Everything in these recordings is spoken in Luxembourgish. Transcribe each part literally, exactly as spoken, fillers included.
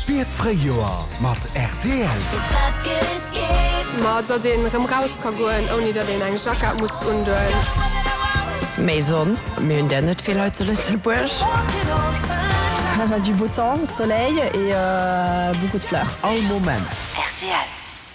Spiert d'Fréijoer mat rtl. Ma datt een erëm raus ka goen, ouni datt een eng Jackett muss undoen. Méi Sonn, mir hunn der net vill hei zu Lëtzebuerg. Du beau temps, soleil et euh, beaucoup de fleurs. All Moment. Rtl.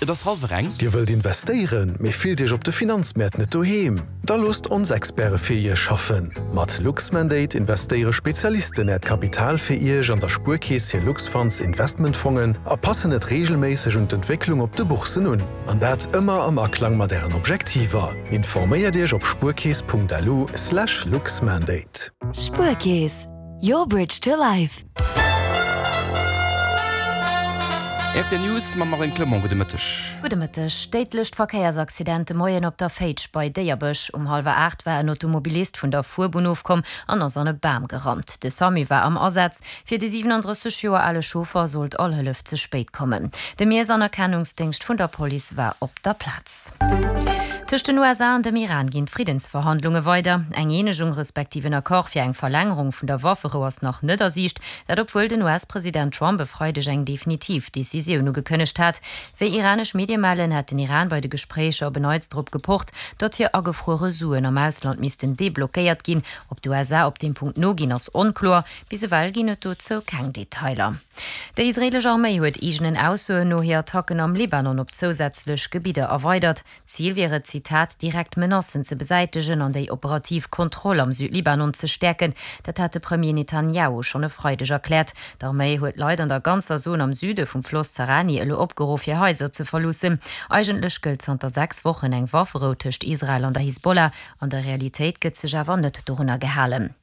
Et ass hallwer eng. Dir wëllt investéieren, mee fillt Iech op de Finanzmäert net doheem? Da loosst ons Experte fir Iech schaffen. Mat Luxmandate investéiere Spezialisten Äert Kapital fir Iech an der Spuerkeess hir Luxfonds Investmentfongen a passen et reegelméisseg un d'Entwécklung op de Boursen un. An dat ëmmer am Aklang mat Ären Objektiver. Informéiert Iech op spuerkeess Punkt lu slash luxmandate. Spuerkeess, your bridge to life. R T L News mam Marine Clement. Gudde Mëtteg. Gudde Mëtteg. Déidlecht Verkéiersaccident de Moien op der Féitsch bei Déierbech. Um hallwer aacht war en Automobilist vun der Fuerbunn ofkomm an ass an e Bam gerannt. De SAMU war am Asaz. Fir de siwenandrësseg Joer ale Chauffer sollt all Hëllef ze spéit kommen. De Miess an Erkennungsdéngscht vun der Police war op der Plaz. Tëscht den U S A an dem Iran ginn d'Friddensverhandlunge weider. Eng Eenegung respektiv en Accord fir eng Verlängerung vun der Wafferou ass nach net a Siicht, dat obwuel den U S-President Trump e Freideg eng definitiv Decisioun ugekënnegt hat. Wéi iranesch Medie mellen, hätt den Iran bei de Gespréicher op en Neits drop gepocht, datt hir agefruere Suen am Ausland missten deblockéiert ginn. Ob d'U S A op deem Punkt noginn, ass onkloer. Bis ewell ginn et dozou keng Detailer. Déi israeelesch Arméi huet eegenen Aussoen no hir Attacken am Libanon op zousätzlech Gebidder erweidert. Zil wier et, Zitat, direkt Menacen ze besäitegen an déi operativ Kontroll am Südlibanon ze stäerken. Dat hat de Premier Netanjahu schonn e Freideg erkläert. D'Arméi huet Leit an der ganzer Zon am Süde vum Floss Zarani elo opgeruff, hir Haiser ze verloossen. Eigentlech gëllt zanter sechs Wochen eng Wafferou tëscht Israel an der Hisbollah. An der Realitéit gëtt sech awer net dorunner gehalen.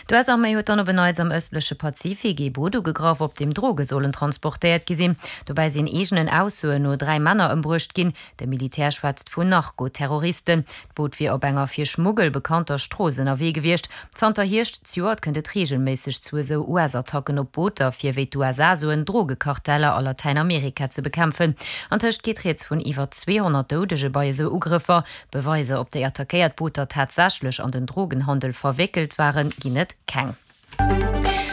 D'U S-Arméi huet dann op en Neits am ëstleche Pazifik ee Boot ugegraff, op deem Droge sollen transportéiert gi sinn. Dobäi sinn eegenen Aussoen no dräi Männer ëmbruecht ginn. De Militär schwätzt vun Narko-Terroristen. D'Boot wier op enger fir Schmuggel bekannter Strooss ënnerwee gewiescht. Zanter Hierscht zejoert kënnt et reegelméisseg zu esou U S-Attacken op Booter, fir wéi d'U S A soen, Drogekarteller a Latäinamerika ze bekämpfen. Antëscht geet rieds vun iwwer zweehonnert Doudege bei esou Ugrëffer. Beweiser, ob déi attackéiert Booter tatsächlech an den Drogenhandel verwéckelt waren, ginn et keng.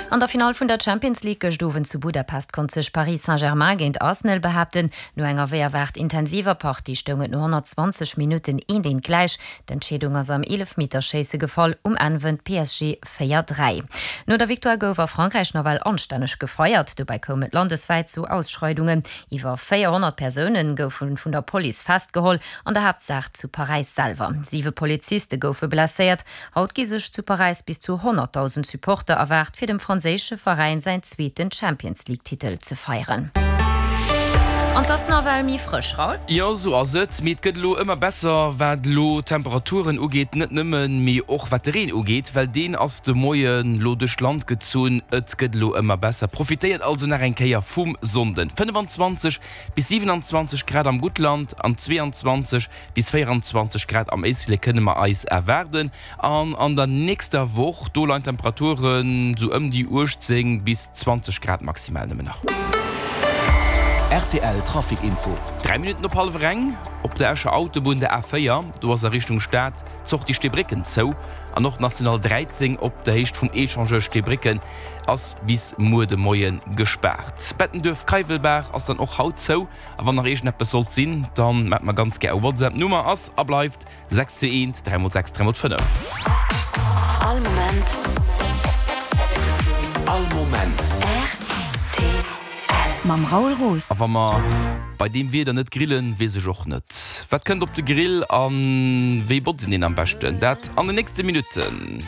An der Finall vun der Champions League gëscht Owend zu Budapest konnt sech Paris Saint-Germain géint Arsenal behaapten. No enger wéi erwaart intensiver Partie stoung et no honnertzwanzeg Minutten eent eent gläich. D'Entscheedung ass am Eelefmeterschéisse gefall, um Enn wënnt P S G véier dräi. No der Victoire gouf a Frankräich nawell anstänneg gefeiert. Dobäi koum et landeswäit zu Ausschreidungen. Iwwer véierhonnert Persoune goufe vun der Police festgeholl, an der Haaptsaach zu Paräis selwer. Siwe Poliziste goufe blesséiert. Haut gi sech zu Paräis bis zu honnertdausend Supporter erwaart, fir dem franséische Veräin säin zweeten Champions-League-Titel ze feieren. An et ass nawell méi frësch, Raoul? Jo, sou ass et. Mee et gëtt elo ëmmer besser, wat elo d'Temperaturen ugeet. Net nëmmen, mee och wat de Reen ugeet, well deen ass de Moien elo duerch d'Land gezunn. Et gëtt elo ëmmer besser. Profitéiert also nach eng Kéier vum Sonnden. fënnefenzwanzeg bis siwenanzwanzeg Grad am Guttland an zweeanzwanzeg bis véieranzwanzeg Grad am Éislek kënne mer eis erwaarden. An an der nächster Woch, do leien d'Temperaturen sou ëm déi uechtzéng bis zwanzeg Grad maximal nëmmen nach. R T L Trafic Info. Dräi Minutten op hallwer eng. Op der Escher Autobunn, der A véier, do ass a Richtung Stad d'Sortie Steebrécken zou. An och d'National dräizéng op der Héicht vum Echangeur Steebrécken ass bis muer de Moie gespaart. Bettenduerf-Keiwelbaach ass dann och haut zou. A wann nach iergendeppes sollt sinn, dann maacht mer ganz gär e WhatsApp. D'Nummer ass a bleift sechs zwee eent dräi mol sechs dräi mol fënnef. All Moment. All Moment. R T L. Mam Raoul Roos. A wa mer bei deem Wieder net grillen, weess ech och net. Wat kënnt op de Grill a wéi botzt een deen am beschten? Dat an den nächste Minutten.